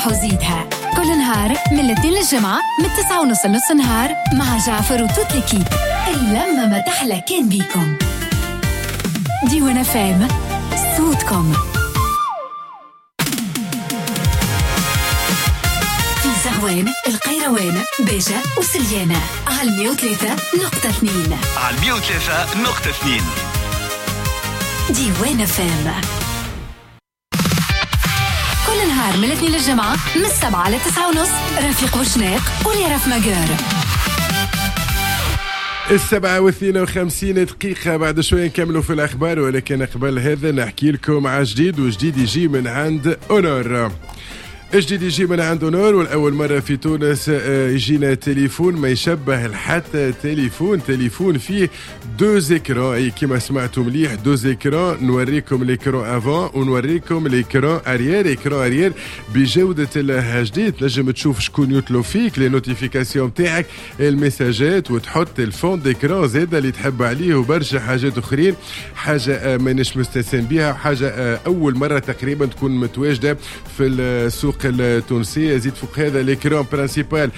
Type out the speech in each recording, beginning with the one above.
ارتاح وزيدها كل نهار من الاثنين للجمعة من 9:30 لنص النهار مع جعفر و toute l'équipe. اللمة ما تحلى كان بيكم. ديوان FM، صوتكم. في زغوان، القيروان، باجة وسليانة على 103.2. على 103.2 ديوان FM. كل نهار من الاثنين للجمعة من 7 ل 9:30 رفيق وشناق ولي ماجور. 7:52 بعد شوية نكملوا في الأخبار، ولكن قبل هذا نحكي لكم على جديد، وجديد يجي من عند Honor. جديد يجي من عند Honor، والأول مرة في تونس يجينا تليفون ما يشبه حتى تليفون. تليفون فيه deux écrans، اي كيما سمعتوا مليح deux écrans. نوريكم l'écran avant ونوريكم l'écran arrière. écran arrière بجودة ال HD، تنجم تشوف شكون يطلب فيك، les notifications تاعك، المساجات، وتحط ال fond d'écran زاد اللي تحب عليه، وبرشا حاجات اخرين. حاجة مانيش مستسلم بها، حاجة أول مرة تقريبا تكون متواجدة في السوق التونسية. زيد فوق هذا l'écran principal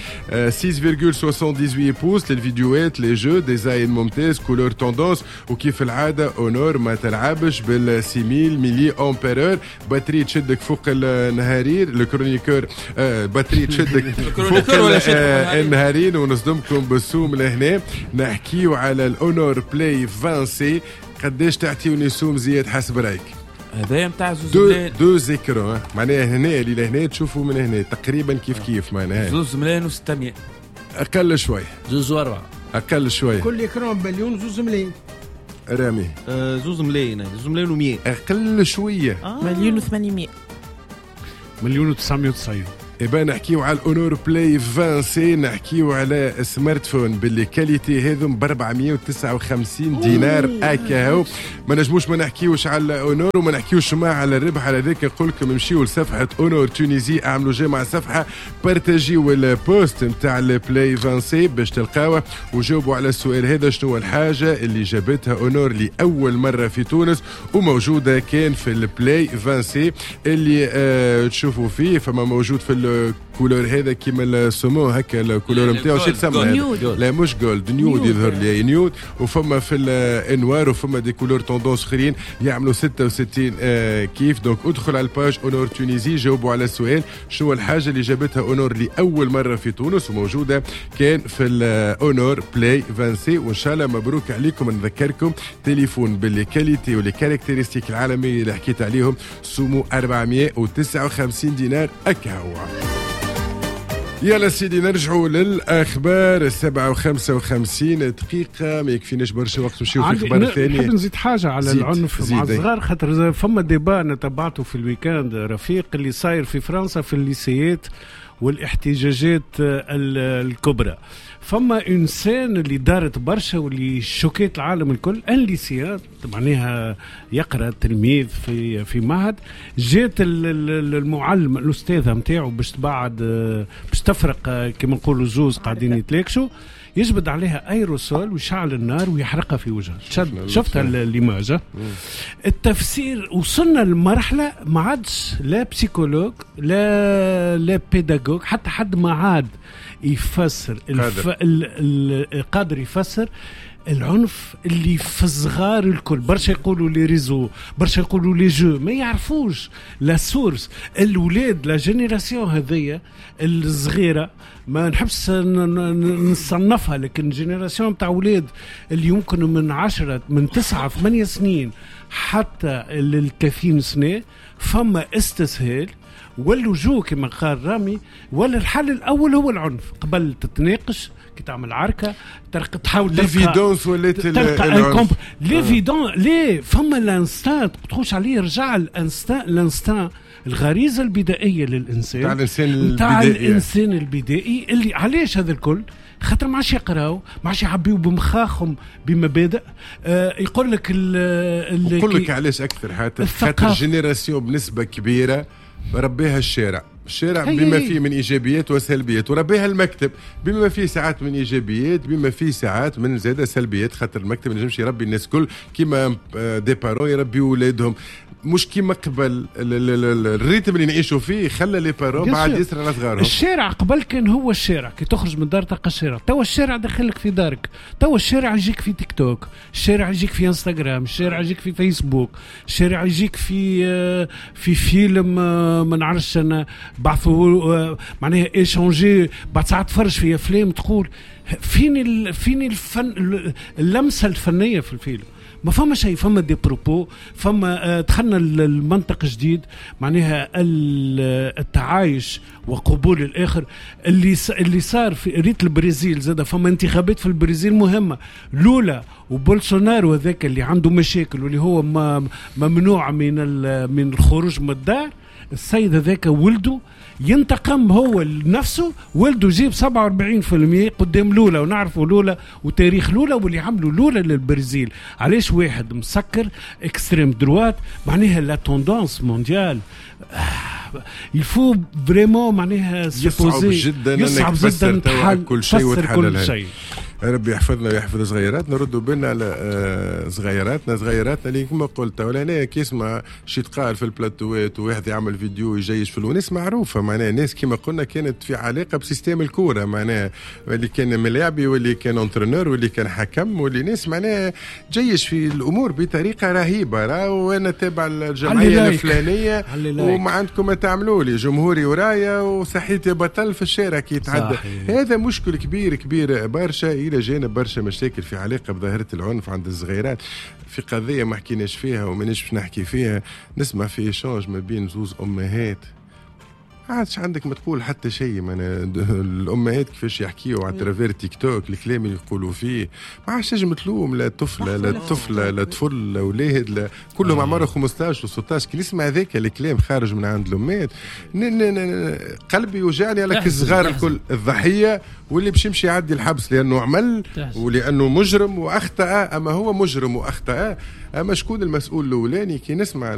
6.78 pouces للفيديوهات، les jeux، design ممتاز، couleur tendance. وكيف العادة Honor ما تلعبش بال 6000 milliampère-heure. batterie تشدك فوق النهارين، ال chroniqueur batterie تشدك فوق النهارين. ونصدمكم بالسوم لهنا. نحكيو على ال Honor Play 20C. قداش تعطيوني سوم زياد حسب رايك؟ هذايا نتاع زوز ملايين، deux écrans معناها هنا اللي لهنا تشوفوا من هنا تقريبا كيف كيف، معناها 2,6 ملايين. اقل شوي، 2.4، اقل شوي. كل écran بمليون، 2 ملايين. رامي 2 ملايين، 2,1 ملايين. اقل شويه. 1,8 مليون. 1,990 مليون. إبا نحكيو على ال Honor Play 20C، نحكيو على smartphone ب les qualités هذم ب 459 دينار اكاهو. ما نجموش ما نحكيوش على Honor وما نحكيوش ما على الربح. على ذاك نقول لكم امشيو لصفحة Honor Tunisie، اعملوا j'aime على الصفحه، بارتاجيو ال post نتاع ال Play 20C باش تلقاوه، وجاوبوا على السؤال هذا: شنو الحاجة اللي جابتها Honor لاول مرة في تونس وموجودة كان في ال Play 20C اللي تشوفوا فيه؟ فما موجود في ال couleur هذا كيما ال saumon هكا، ال couleur نتاعو شو تسمى؟ لا مش gold، nude يظهر لي nude. وفما في ال noir، وفما des couleurs tendance اخرين يعملوا 66 كيف. donc ادخل على ال page Honor Tunisie، جاوبوا على السؤال: شنو الحاجة اللي جابتها Honor لاول مرة في تونس وموجودة كان في ال Honor Play 20C؟ وان شاء الله مبروك عليكم. نذكركم تليفون ب les qualités و les caractéristiques العالمية اللي حكيت عليهم، سومو 459 دينار اكهو. يلا سيدي نرجعوا للأخبار. 7:55، ما يكفيناش برشا وقت نمشيو في الأخبار الثانية. نحب نزيد حاجة على العنف مع الصغار، خاطر فما débat أنا تبعته في ال week-end رفيق، اللي صاير في فرنسا في الليسيات والاحتجاجات الكبرى. فما une scène اللي دارت برشا واللي شوكيت العالم الكل، un lycéen معناها يقرا تلميذ في معهد، جات المعلم الاستاذة نتاعو باش تبعد، باش تفرق كما نقولوا زوز قاعدين يتلاكشوا، يجبد عليها ايروسول ويشعل النار ويحرقها في وجهها. شفتها l'image؟ التفسير وصلنا لمرحلة ما عادش لا psychologue لا pédagogue، حتى حد ما عاد يفسر قادر يفسر العنف اللي في الصغار الكل. برشا يقولوا les réseaux، برشا يقولوا les jeux، ما يعرفوش la source. الولاد la génération هذيا الصغيره، ما نحبش نصنفها، لكن génération تاع ولاد اللي يمكن من 10، من 9، 8 سنين حتى لل 30 سنه، فما استسهال واللجوء كما قال رامي، ولا الحل الاول هو العنف. قبل تتناقش، كي تعمل عركة تحاول l'évidence ولات تلقى l'évidence. ليه فما l'instinct تخش عليه، رجع l'instinct، l'instinct الغريزة البدائية للانسان. تاع الانسان. تاع الانسان البدائي. اللي علاش هذا الكل؟ خاطر ما عادش يقراو، ما عادش يعبيو بمخاخهم بمبادئ. يقول لك نقول لك علاش اكثر، حتى خاطر génération بنسبة كبيرة ربيها الشارع. الشارع بما فيه من ايجابيات وسلبيات، وربيها المكتب بما فيه ساعات من ايجابيات، بما فيه ساعات من زاد سلبيات، خاطر المكتب ما ينجمش يربي الناس الكل كيما des parents يربيوا اولادهم، مش كيما قبل. ال rythme اللي نعيشوا فيه خلى les parents بعد ياسر على صغارهم. الشارع قبل كان هو الشارع، كي تخرج من الدار تلقى الشارع. توا الشارع دخلك في دارك، توا الشارع يجيك في تيك توك، الشارع يجيك في انستغرام، الشارع يجيك في فيسبوك، الشارع يجيك في فيلم، ما نعرفش انا بعثوا معناها échanger. بعد ساعات تفرج في افلام تقول فين الفن، اللمسة الفنية في الفيلم؟ ما فما شيء، فما des propos، فما دخلنا المنطق جديد، معناها التعايش وقبول الاخر اللي صار في ريت البرازيل. زاد فما انتخابات في البرازيل مهمه، لولا وبولسونارو هذاك اللي عنده مشاكل واللي هو ممنوع من الخروج من الدار، السيد هذاك ولده ينتقم هو لنفسه، ولده جيب 47% قدام لولا، ونعرفوا لولا وتاريخ لولا واللي عملوا لولا للبرازيل. علاش واحد مسكر extrême droite، معناها la tendance mondiale، il faut vraiment معناها يصعب جدا، يصعب جدا كل شيء وتحلل كل شيء. ربي يحفظنا ويحفظ صغيراتنا. نردوا بالنا على صغيراتنا، صغيراتنا اللي كما قلت ولا هنا كي يسمع شي تقال في البلاتوات وواحد يعمل فيديو يجيش في الوناس معروفه، معناها ناس كما قلنا كانت في علاقة ب système الكوره، معناها اللي كان ملاعبي واللي كان entraîneur واللي كان حكم واللي ناس معناها جيش في الامور بطريقة رهيبه. راهو انا تابع الجمعية الفلانية وما عندكم ما تعملوا لي، جمهوري ورايا وصحيتي بطل في الشارع كي يتعدى. هذا مشكل كبير كبير برشا، الى جانب برشا مشاكل في علاقة بظاهره العنف عند الصغيرات. في قضية ما حكيناش فيها ومانيش باش نحكي فيها، نسمع في échange ما بين زوز امهات، عادش عندك ما تقول حتى شيء. الامهات كيفاش يحكيوا à travers تيك توك، الكلام اللي يقولوا فيه ما عادش تنجم تلوم لا طفله لا طفله لا طفل لا ولاد، لا كلهم عمرهم 15 و16. كي نسمع هذاك الكلام خارج من عند الامهات قلبي يوجعني على الصغار الكل، الضحية واللي باش يمشي يعدي الحبس لانه عمل ولانه مجرم واخطا. اما هو مجرم واخطا، اما شكون المسؤول الاولاني؟ كي نسمع